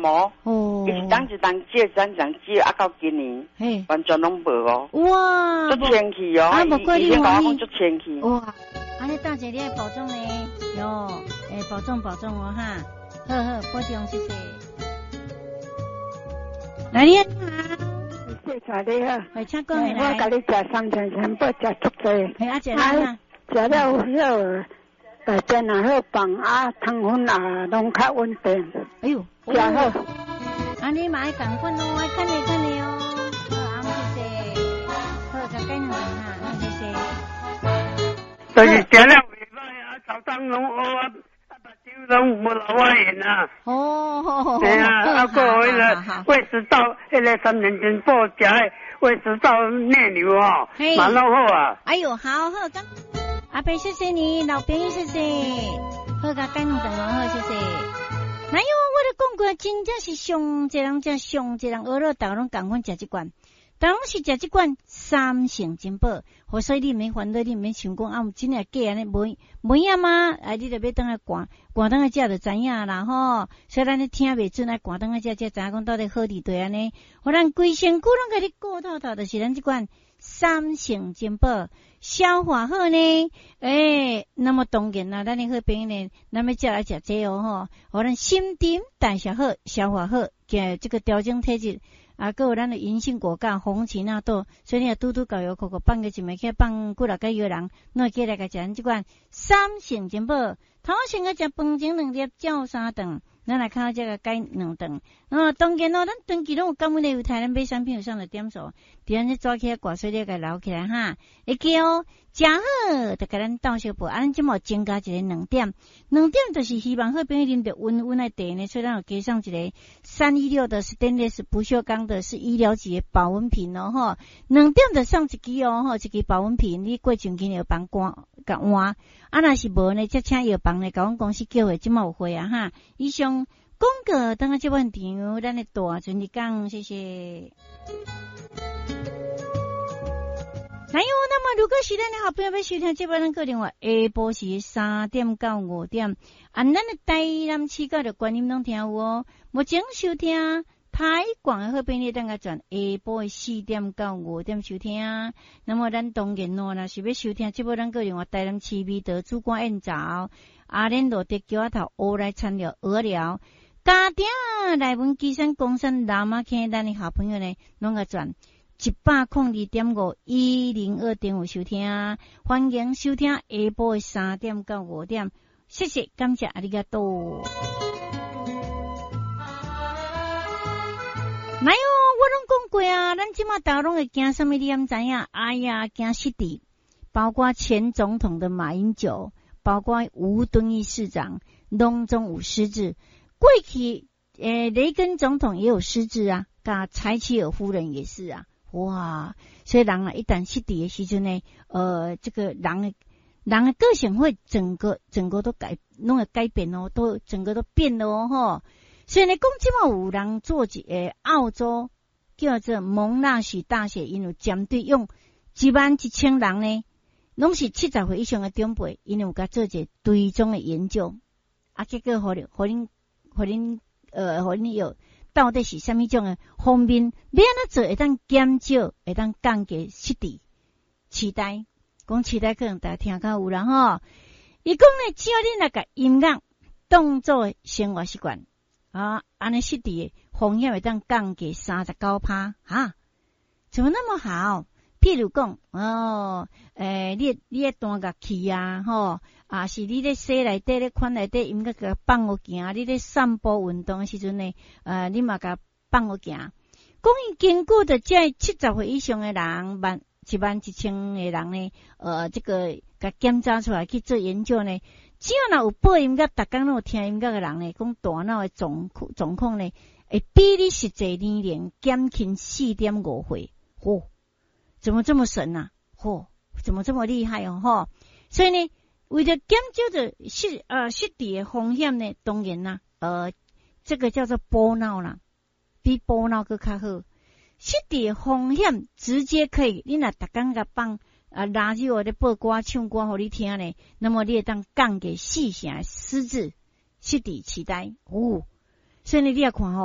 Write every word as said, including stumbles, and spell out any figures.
哦。哦。伊一冬一冬少，一冬一冬少，啊到今年，嘿，完全攏無哦。哇！足清氣哦，啊，無怪你醫生共我講足清氣。哇！按呢大姐你愛保重呢，喲，欸，保重保重哦哈，好好保重，謝謝。來，你好。謝謝你好。會請講來。我共你食三層三寶，食足濟。嘿，啊，食了食了好，大便也好放，啊，糖分也攏較穩定。哎喲，食好。啊，你嘛愛共款哦，愛看你看你哦。好，啊，謝謝。好，共解兩頓哈，好，謝謝。就是食了袂歹啊，頭鬃攏烏啊，啊目睭攏無老花眼啊。哦，對啊，啊，閣有彼個胃食道，彼個三年前報食的胃食道逆流哦，嘛攏好啊。哎喲，好好，咁阿伯謝謝你，老朋友謝謝，好，共解兩頓哦，好，謝謝。哎喲，我咧講過，真正是上濟人食，上濟人學了，逐家攏共款食這罐，逐攏是食這罐三成珍寶，所以你毋免煩惱，你毋免想講啊，有真的假按呢，無無影嗎？啊，你著欲轉來寒，寒轉來食就知影啦吼。所以咱咧聽袂準，愛寒轉來食才知影講到底好佇佗按呢。予咱規身軀攏共你顧透透，就是咱這罐三成珍寶，消化好呢。欸，那麼當然啦，咱的好朋友呢，咱欲食來食這哦吼，予咱新陳代謝好，消化好，加這個調整體質。啊，閣有咱的銀杏果膠、紅芪納豆，所以你若拄拄到藥庫，放個一暝去放幾若個藥人，攏會記來共食咱這款三成珍寶。頭先個食飯前兩粒，照三頓，咱來看這個改兩頓。啊，當然咯，咱長期攏有感恩的猶太，咱買產品有送的點數，佇咱這紙起來掛水，你共留起來哈。會記哦，食好，就共咱鬥相報。啊，咱這馬增加一個兩點，兩點就是希望好朋友啉著溫溫的茶呢，所以咱有加送一個三一六的 stainless 不鏽鋼的，是醫療級的保溫瓶哦，吼。兩點就送一支哦，吼，一支保溫瓶，你過上去藥房換共換。啊，若是無呢，才請藥房呢，共阮公司叫貨，這馬有貨啊哈。以上廣告，等下這現場，咱的大陣日講，謝謝。來喲，那麼如果是咱的好朋友欲收聽這擺，咱閣另外下晡時三點到五點，啊，咱的台南市到著觀音攏聽有哦。目前收聽台廣的好朋友，等下轉下晡的四點到五點收聽。那麼咱當然咯，若是欲收聽這擺，咱閣另外台南市味道主管宴席，阿蓮路的橋仔頭烏來餐寮蚵寮，家鼎內文基山岡山南馬坑，咱的好朋友呢，攏共轉一百空二點五一零二點五收聽，歡迎收聽下晡的三點到五點，謝謝，感謝，阿里嘎多。來喲，我攏講過啊，咱這馬逐家攏會驚啥物？你敢知影？哎呀，驚失智，包括前總統的馬英九，包括吳敦義市長，攏總有失智。過去，欸，雷根總統也有失智啊，佮柴契爾夫人也是啊。哇，所以人啊，一旦失智的時陣呢，呃，這個人的人的個性會整個整個都改，攏會改變哦，都整個都變了哦，吼。所以呢，講這馬有人做一個澳洲叫做蒙納許大學，𪜶有針對用一萬一千人呢，攏是七十歲以上的長輩，𪜶有共做一個追蹤的研究，啊，結果予恁，予恁，予恁，呃，予恁有到底是啥物種的方面，欲按怎做會當減少，會當降低失智、痴呆。講痴呆可能大家聽較有啦吼。伊講呢，只要你若共音樂當做生活習慣，啊，按呢失智的風險會當降低三十九趴，哈，怎麼那麼好？譬如講，哦，欸，你你咧彈樂器啊，吼，啊是你咧洗內底咧款內底音樂共放予行，你咧散步運動的時陣呢，呃，你嘛共放予行。講伊根據著這七十歲以上的人，萬一萬一千個人呢，呃，這個共檢查出來去做研究呢，只要若有播音樂，逐工攏有聽音樂的人呢，講大腦的狀狀況呢，會比你實際年齡減輕四點五歲。嚯，怎麼這麼神啊？嚯，怎麼這麼厲害哦？吼，所以呢，為著減少著失呃失智的風險呢，當然啦，呃，這個叫做補腦啦，比補腦閣較好。失智的風險直接可以，你若逐工共放啊垃圾咧播歌唱歌予你聽呢，那麼你會當降低四成失智、失智痴呆。哦，所以你也看吼。